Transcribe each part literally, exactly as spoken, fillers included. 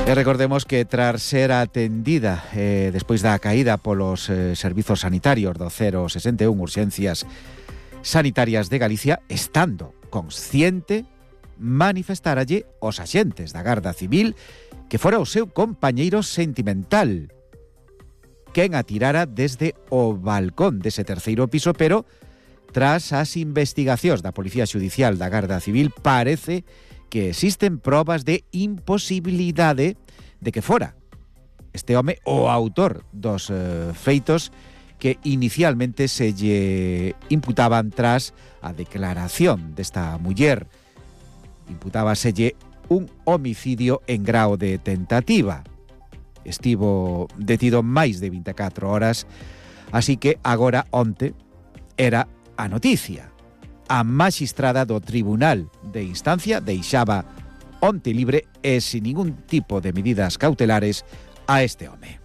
E recordemos que tras ser atendida eh, despois da caída polos eh, servizos sanitarios do cero sesenta e un Urxencias Sanitarias de Galicia, estando consciente, manifestáralle aos axentes da Garda Civil que fora o seu compañeiro sentimental quen atirara desde o balcón dese terceiro piso, pero tras as investigacións da Policía Xudicial da Garda Civil parece que existen probas de imposibilidade de que fora este home o autor dos eh, feitos que inicialmente se lle imputaban tras a declaración desta muller. Imputábaselle un homicidio en grao de tentativa. Estivo detido máis de vinte e catro horas, así que agora onte era a noticia. A maxistrada do Tribunal de Instancia deixaba onte libre e sin ningún tipo de medidas cautelares a este home.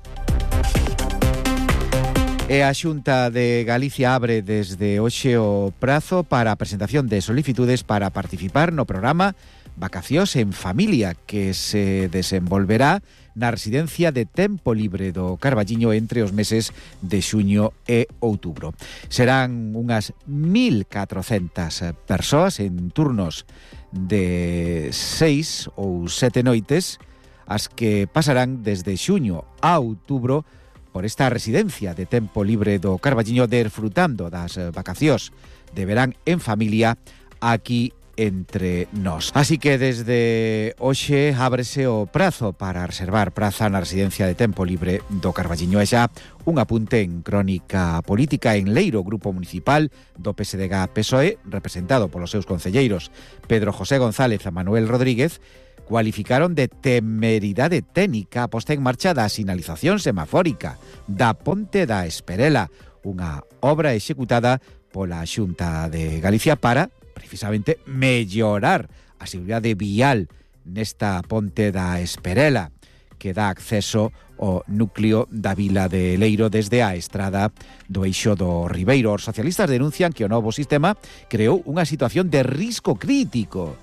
E a Xunta de Galicia abre desde hoxe o prazo para a presentación de solicitudes para participar no programa Vacacións en Familia, que se desenvolverá na residencia de tempo libre do Carballiño entre os meses de xuño e outubro. Serán unhas mil catrocentas persoas en turnos de seis ou sete noites, as que pasarán desde xuño a outubro por esta residencia de tempo libre do Carballiño, desfrutando das vacacións de verán en familia aquí entre nós. Así que desde hoxe ábrese o prazo para reservar praza na residencia de tempo libre do Carballiño. E xa un apunte en crónica política. En Leiro, grupo municipal do P S D G P S O E, representado polos seus concelleiros Pedro José González e Manuel Rodríguez, cualificaron de temeridade técnica a posta en marcha da sinalización semafórica da Ponte da Esperela, unha obra executada pola Xunta de Galicia para precisamente mellorar a seguridade vial nesta Ponte da Esperela, que dá acceso ao núcleo da vila de Leiro desde a estrada do Eixo do Ribeiro. Os socialistas denuncian que o novo sistema creou unha situación de risco crítico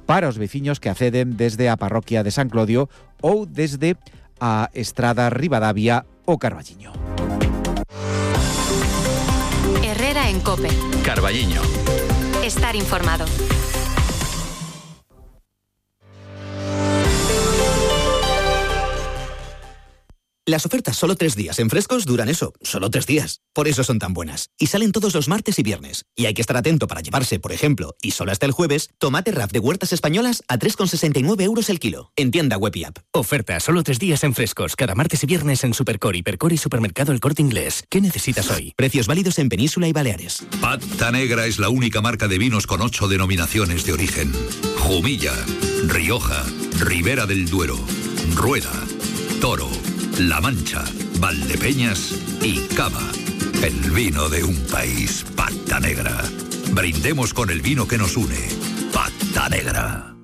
para os veciños que acceden desde a parroquia de San Clodio ou desde a estrada Ribadavia o Carballiño. Herrera en COPE. Carballiño. Estar informado. Las ofertas solo tres días en Frescos duran eso, solo tres días. Por eso son tan buenas. Y salen todos los martes y viernes. Y hay que estar atento para llevarse, por ejemplo, y solo hasta el jueves, tomate R A F de Huertas Españolas a tres con sesenta y nueve euros el kilo. En tienda web y app. Oferta solo tres días en Frescos, cada martes y viernes en Supercor, Hipercor y Supermercado El Corte Inglés. ¿Qué necesitas hoy? Precios válidos en Península y Baleares. Pata Negra es la única marca de vinos con ocho denominaciones de origen. Jumilla, Rioja, Ribera del Duero, Rueda, Toro, La Mancha, Valdepeñas y Cava. El vino de un país. Pata Negra. Brindemos con el vino que nos une. Pata Negra.